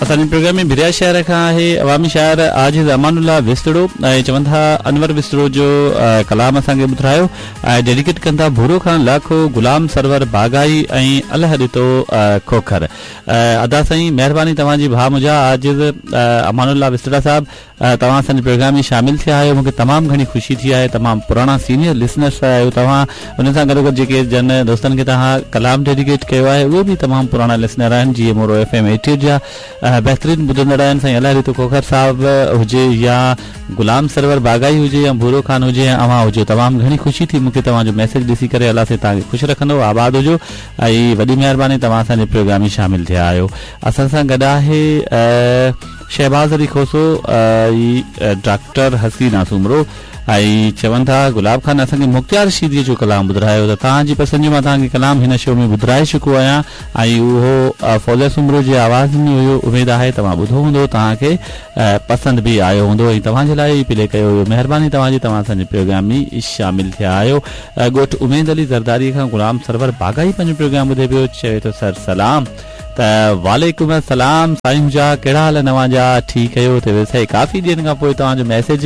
اسان جي پروگرام ۾ ڀريا شهر کان آهي عوامي شاعر عاجز امان الله وسطڙو ۽ چون ٿا انور وسطڙو جو ڪلام اسان کي ٻڌرايو ۽ ڊيڊيڪيٽ ڪن ٿا ڀورو خان لاکو، غلام سرور باغائي ۽ الهه ڏتو کوکر. ادا سائين مهرباني توهان جي ڀاء منهنجا عاجز امان الله وسطڙا صاحب توهان اسان جي پروگرام ۾ شامل ٿيا آهيو مونکي تمام گهڻي خوشي ٿي آهي تمام پراڻا سينيئر لسنرس آهيو توهان ان سان گڏوگڏ جيڪي جن دوستن کي توهان ڪلام ڊيڊيڪيٽ ڪيو آهي اهي به تمام پراڻا لسنر آهن جيئن مورو ايف ايم 88 جا بهترين ٻڌندڙ آهن سائين الهه ڏتو کوکر صاحب هجي يا غلام سرور باغائي هجي يا ڀورو خان هجي يا اوهان هجو تمام گهڻي خوشي ٿي مونکي توهان جو ميسيج ڏسي ڪري الله سائين توهان کي خوش رکندو آباد هجو ۽ وڏي مهرباني توهان اسان جي پروگرام ۾ شامل ٿيا آهيو اسان سان گڏ آهي شهباز علي کوسو ۽ ڊاڪٽر حسينا سومرو ۽ چون ٿا گلاب خان اسان کي مختيار شيدي جو ڪلام ٻڌرايو ته توهان جي پسند جو مان توهان کي ڪلام هن شو ۾ ٻڌرائي چڪو آهيان ۽ اهو فوزيه سومرو جي آواز ۾ هيو اميد آهي توهان ٻڌو هوندو توهان کي پسند به آيو هوندو ۽ توهان جي لاء ئي پلي ڪيو ويو مهرباني توهان جي توهان اسان جي پروگرام ۾ شامل ٿيا آهيو ڳوٺ اميد علي زرداري کان غلام سرور باغائي پنهنجو پروگرام ٻڌي پيو چوي ٿو سر سلام ته وعليڪم السلام سائين منهنجا ڪهڙا حال آهن اوهان جا ٺيڪ آهيو ته سائين ڪافي ڏينهن کان پوء توهان جو ميسيج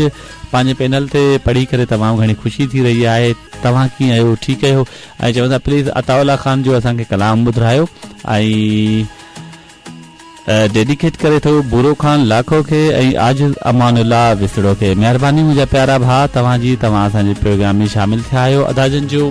پنهنجي پينل تي پڙهي ڪري تمام گهڻي خوشي ٿي رهي آهي توهان ڪيئن آهيو ٺيڪ آهيو ۽ چون ٿا پليز عطاء الله خان جو اسان کي ڪلام ٻڌرايو ۽ ڊيڊيڪيٽ ڪري ٿو ڀورو خان لاکو کي ۽ عاجز امان الله وسڙو کي مهرباني منهنجا پيارا ڀاء توهان جي توهان اسان جي پروگرام ۾ شامل ٿيا آهيو ادا جن جو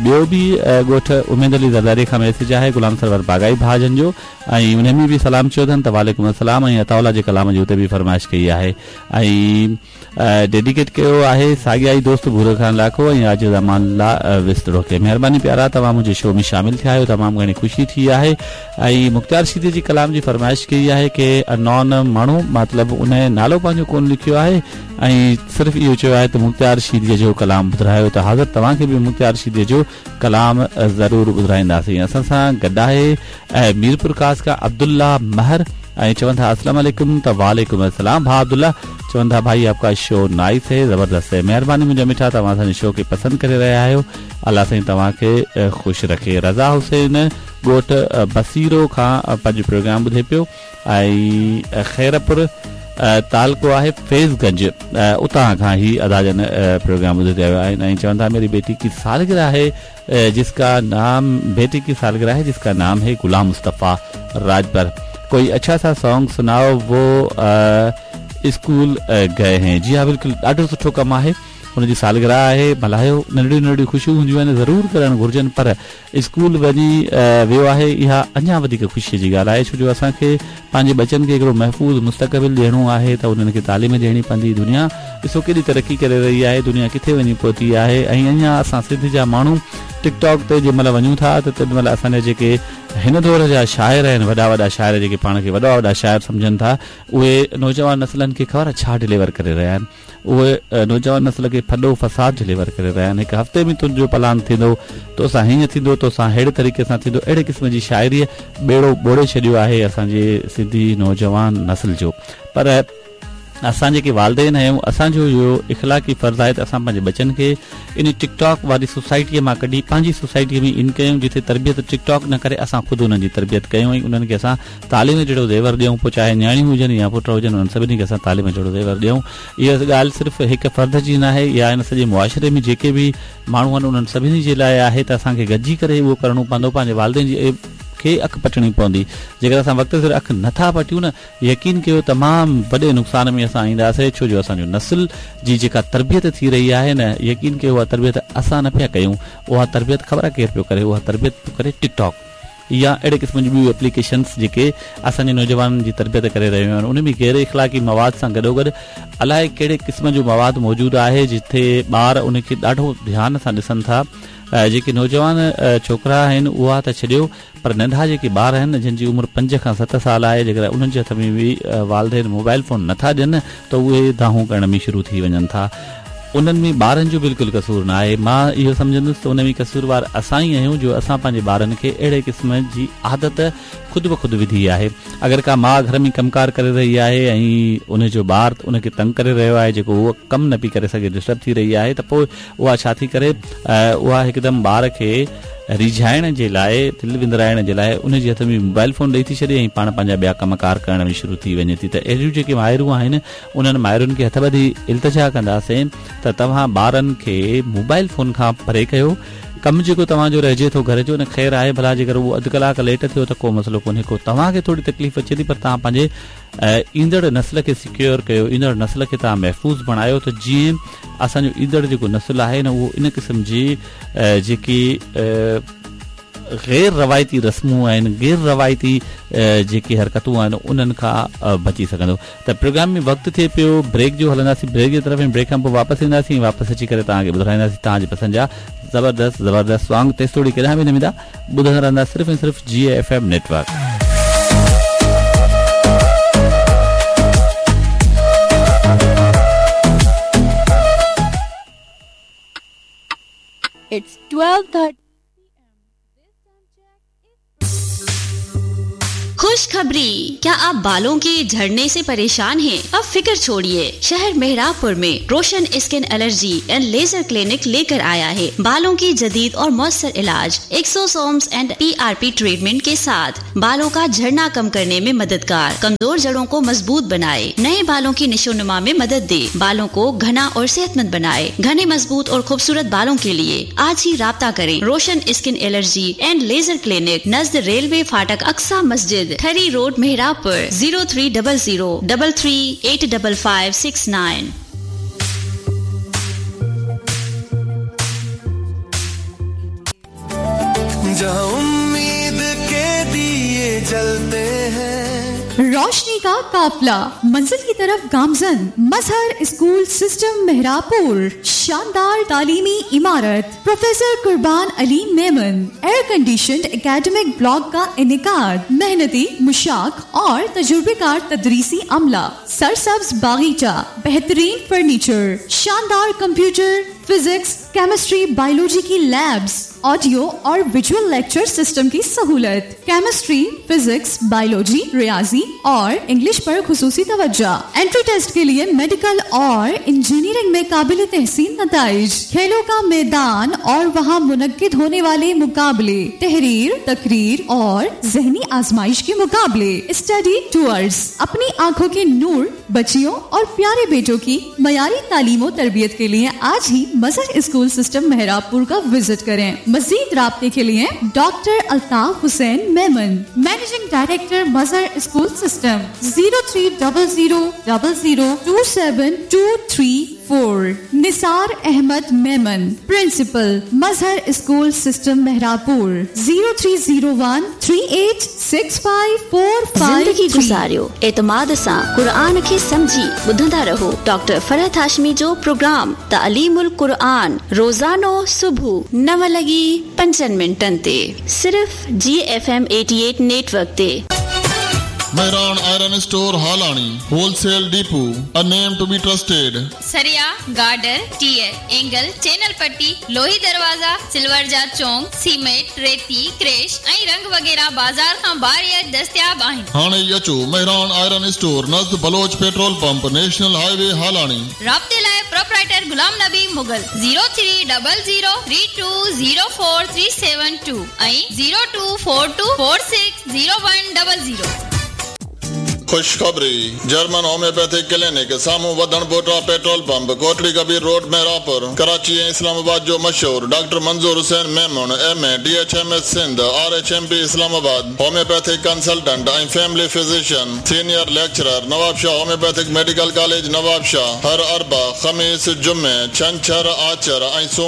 ٻيو به ڳوٺ اميد علي زرداري کان ميسيج آهي غلام سرور باغائي ڀاء جن جو ۽ انهي ۾ به سلام چيو اٿن ته وعليڪم السلام ۽ عطاء الله جي ڪلام جي اتي به فرمائش ڪئي آهي ۽ ڊيڊيڪيٽ ڪيو آهي ساڳيا ئي دوست ڀورو خان لاکو ۽ عاجز امان الله وسطڙو کي مهرباني پيارا توهان منهنجي شو ۾ شامل ٿيا آهيو تمام گهڻي خوشي ٿي آهي ۽ مختيار شيدي جي ڪلام جي فرمائش ڪئي آهي ڪي انون ماڻهو مطلب ان نالو پنهنجو ڪون لکيو آهي ۽ صرف اهو چيو آهي ته مختيار شيدي جو ڪلام ٻڌرايو ته حاضر توهان کي به مختيار شيدي جو ڪلام ضرور ٻڌرائينداسين اسان سان گڏ آهي ميرپورخاص کان عبدالله مهر ۽ چون ٿا السلام عليڪم ته وعليڪم السلام ڀاء عبدالله چون ٿا ڀائي آپ ڪا شو نائس هي زبردست هي مهرباني منهنجا مٺا توهان اسان جي شو کي پسند ڪري رهيا آهيو الله سائين توهان کي خوش رکي رضا حسين ڳوٺ بصيرو کان پنهنجو پروگرام ٻڌي پيو ۽ خيرپور تعلقو آهي فيض گنج اتان کان هي ادا جن پروگرام ٻڌي رهيا آهن ۽ چون ٿا ميري بيٽي ڪي سالگرهه آهي جس ڪا نام بيٽي ڪي سالگرهه هي جس ڪا نام هي غلام مصطفيٰ راجپر ڪوئي اڇا سا سانگ سنائو وو اسڪول گئي هين جي ها بلڪل ڏاڍو سٺو ڪم آهي هن جي سالگرهه آهي ملهايو ننڍڙيون ننڍڙيون خوشيون هونديون آهن ضرور ڪرڻ گهرجن پر اسڪول وڃي ويو آهي اها اڃا وڌيڪ خوشي جي ڳالهه آهي ڇو جو اسان کي پنهنجي ٻچن کي هڪڙو محفوظ مستقبل ڏيڻو آهي ته انهن کي تعليم ڏيڻي پوندي دنيا ڏسو ڪيڏي ترقي ڪري رهي آهي دنيا ڪٿي وڃي پهتي آهي ۽ اڃا اسان سنڌ جا ماڻهو ٽڪ ٽاڪ تي جنهن مهل وڃون ٿا ته تنهن مهل اسان جا جيڪي هن دور جا شاعر آهن وڏا وڏا شاعر جيڪي پاڻ کي وڏا وڏا شاعر سمجهن ٿا اهي نوجوان نسلن کي خبر آهي ڇا ڊليور ڪري رهيا آهن اهي نوجوان نسل کي ڦڏو فساد ڊليور ڪري رهيا آهن. هڪ هفتي ۾ تنهنجو پلاند ٿيندو، توسان هيئن ٿيندو، توسان ههڙي طريقي سان ٿيندو، اهڙي قسم جي شاعريء ٻيڙو ٻوڙي ڇڏيو آهي اسان جي سنڌي نوجوان نسل جو. پر اسان جيڪي والدين آهيون، اسان جو اهو اخلاقي فرض آهي ته اسان پنهنجي ٻچن کي ان ٽڪ ٽاڪ واري سوسائٽيء مان ڪڍي پنهنجي سوسائٽيء ۾ ان ڪيون، جتي تربيت ٽڪ ٽاڪ نه ڪري اسان خود انهن جي تربيت ڪيون ۽ انهن کي اسان تعليم جهڙو زيور ڏيون پوء چاهي نياڻيون هجن يا پٽ هجن انهن سڀني کي اسان تعليم جهڙو زيور ڏيون اها ڳالهه صرف هڪ فرد جي ناهي اها هن سڄي معاشري ۾ جيڪي به ماڻهو آهن انهن سڀني جي لاء آهي ته اسان کي گڏجي ڪري اهو ڪرڻو پوندو پنهنجي والدين جي کي اک پٽڻي پوندي جيڪڏهن اسان وقت سر اک نه ٿا پٽيون نه يقين ڪيو تمام وڏي نقصان ۾ اسان اينداسي ڇو جو اسان جو نسل جي جيڪا تربيت ٿي رهي آهي نه يقين ڪيو اها تربيت اسان نه پيا ڪيون اها تربيت خبر آهي ڪير پيو ڪري اها تربيت پيو ڪري ٽڪ ٽاڪ يا اهڙي قسم جون ٻيون ايپليڪيشنس جيڪي اسان جي نوجوانن جي تربيت ڪري رهيون آهن ان ۾ غير اخلاقي مواد سان گڏوگڏ الائي ڪهڙي قسم جو مواد موجود آهي جتي ٻار ان کي ڏاڍو ڌيان سان ڏسن ٿا جيڪي نوجوان ڇوڪرا آهن اها ته ڇڏيو پر ننڍا جيڪي ٻار آهن جن جي عمر 5 کان 7 سال آهي جيڪڏهن انهن جي هٿ ۾ به والدين موبائل فون نٿا ڏين ته اهي دانهون ڪرڻ ۾ شروع ٿي وڃن ٿا انهن ۾ ٻارن جو بلڪل قصور نه آهي. مان اهو سمجهندس ته ان ۾ قصوروار اسان ئي آهيون جو اسان پنهنجي ٻارن کي اهڙي قسم جي عادت خود بخود وڌي آهي. اگر ڪا ماء گهر ۾ ڪم ڪار ڪري رهي آهي ۽ ان جو ٻار ان کي تنگ ڪري رهيو آهي جيڪو هوء ڪم نه پئي ڪري سگهي ڊسٽرب ٿي رهي آهي ته پوء اها ڇا ٿي ڪري اها هڪدم ٻار کي ريجهائڻ جي لاء، دل وندرائڻ جي لاء ان جي هٿ ۾ موبائل فون ڏئي ٿي ڇڏي ۽ پاڻ پنهنجا ٻيا ڪم ڪار ڪرڻ ۾ شروع ٿي وڃي ٿي ته اهڙيون جيڪي مائرون آهن انهن مائرن کي هٿ ٻڌي التجا ڪنداسين ته توهان ٻارن کي موبائل فون کان پري ڪيو. ڪم جيڪو توهان جو رهجي ٿو گهر جو نه خير آهي ڀلا جيڪر اهو اڌ ڪلاڪ ليٽ ٿيو ته ڪو مسئلو ڪونهي ڪو توهان کي ٿوري تڪليف اچي ٿي پر توهان پنهنجي ايندڙ نسل کي سيڪيور ڪيو ايندڙ نسل کي توهان محفوظ بڻايو ته جيئن اسان جو ايندڙ جيڪو نسل آهي نه اهو ان قسم جي جيڪي غير روايتي رسمون آهن غير روايتي جيڪي حرڪتون آهن انهن کان بچي سگهندو ته پروگرام ۾ وقت ٿئي پيو بريڪ جو هلنداسين بريڪ جي طرف ۽ بريڪ کان پوء واپس اينداسين ۽ واپس اچي ڪري توهان کي ٻڌرائينداسين توهان جي پسند جا زبردست زبردست سانگ تيستوڙي ڪيڏانهن به نه ويندا ٻڌندا رهندا صرف ۽ صرف جي ايف ايم نيٽورڪ. It's 12:30 खुशखबरी क्या आप बालों के झड़ने से परेशान हैं? अब फिक्र छोड़िए। शहर मेहराबपुर में Roshan skin allergy and laser clinic लेकर आया है बालों की जदीद और मौसर इलाज एक्सोसोम्स एंड पीआरपी ट्रीटमेंट के साथ बालों का झड़ना कम करने में मददगार, कमजोर जड़ों को मजबूत बनाए, नए बालों की निशोनुमा में मदद दे, बालों को घना और सेहतमंद बनाए। घने, मजबूत और खूबसूरत बालों के लिए आज ही राब्ता करें Roshan skin allergy and laser clinic, नज़द रेलवे फाटक, अक्सा मस्जिद, Thari road, Mehrabpur, 0300 33 855 69। जहाँ उम्मीद के दिए जलते हैं। रोशनी का काफिला मंजिल की तरफ गामजन। मजहर स्कूल सिस्टम मेहराबपुर, शानदार तालीमी इमारत, professor Qurban Ali Memon, air condition academic block का इनकाद, मेहनती, मुशाक और तजुर्बेकार तदरीसी अमला, सरसब्ज बागीचा, बेहतरीन फर्नीचर, शानदार कंप्यूटर, फिजिक्स, केमिस्ट्री, बायोलॉजी की लैब्स, ऑडियो और विजुअल लेक्चर सिस्टम की सहूलत, केमिस्ट्री, फिजिक्स, बायोलॉजी, रियाजी और इंग्लिश पर खुसूसी तवज्जो, एंट्री टेस्ट के लिए मेडिकल और इंजीनियरिंग में काबिल तहसीन नताइज, खेलों का मैदान और वहाँ मुनक्किद होने वाले मुकाबले, तहरीर, तकरीर और जहनी आजमाइश के मुकाबले, स्टडी टूर्स। अपनी आंखों के नूर बच्चियों और प्यारे बेटों की मयारी तालीम और तरबियत के लिए आज ही मजहर स्कूल सिस्टम मेहराबपुर का विजिट करें। मजीद राब्ते के लिए doctor Altaf Hussain Memon, managing director, Mazhar school system, 0300 00 27234। Nisar Ahmed Memon, principal, Mazhar school system Mehrabpur, 0301 3865 45। ज़िंदगी गुज़ारियो एतमाद सां, क़ुरआन खे सम्झी ॿुधंदा रहो। डॉक्टर फ़रहत हाशमी जो प्रोग्राम तालीमुल क़ुरआन रोज़ानो सुबुह 9 लॻी 5 मिंटनि ते सिर्फ़ जी एफ एम 88 नेटवर्क ते। Mehran iron store Halani, wholesale depot, a name to be trusted. सरिया, गार्डर, टीयर, एंगल, चैनल पट्टी, लोही दरवाज़ा, सिल्वर जा चोंग, सीमेंट, रेती, क्रैश ऐं रंग वग़ैरह बाज़ार खां बारियत दस्तियाब आहिनि। हाणे ई अचो मेहरान आयरन स्टोर, नज़द Baloch petrol pump, national highway, Halani. राब्ते लाइ प्रोपराइटर गुलाम नबी मुगल, 0300 3204 372 ऐं 0242 460100। खुशखबरी, जर्मन होम्योपैथिक क्लिनिक साम्हूं वधण बोटा petrol pump, Kotri Kabir road, Mehrabpur, Karachi ऐं इस्लामाबाद जो मशहूर doctor Manzoor Hussain Memon, M A D H M S Sindh, R H M P Islamabad, homeopathic consultant ऐं family physician, senior lecturer, Nawabshah homeopathic medical college, Nawabshah. हर अरबा, ख़मीस, जुमे, छंछर, आचर ऐं सूम।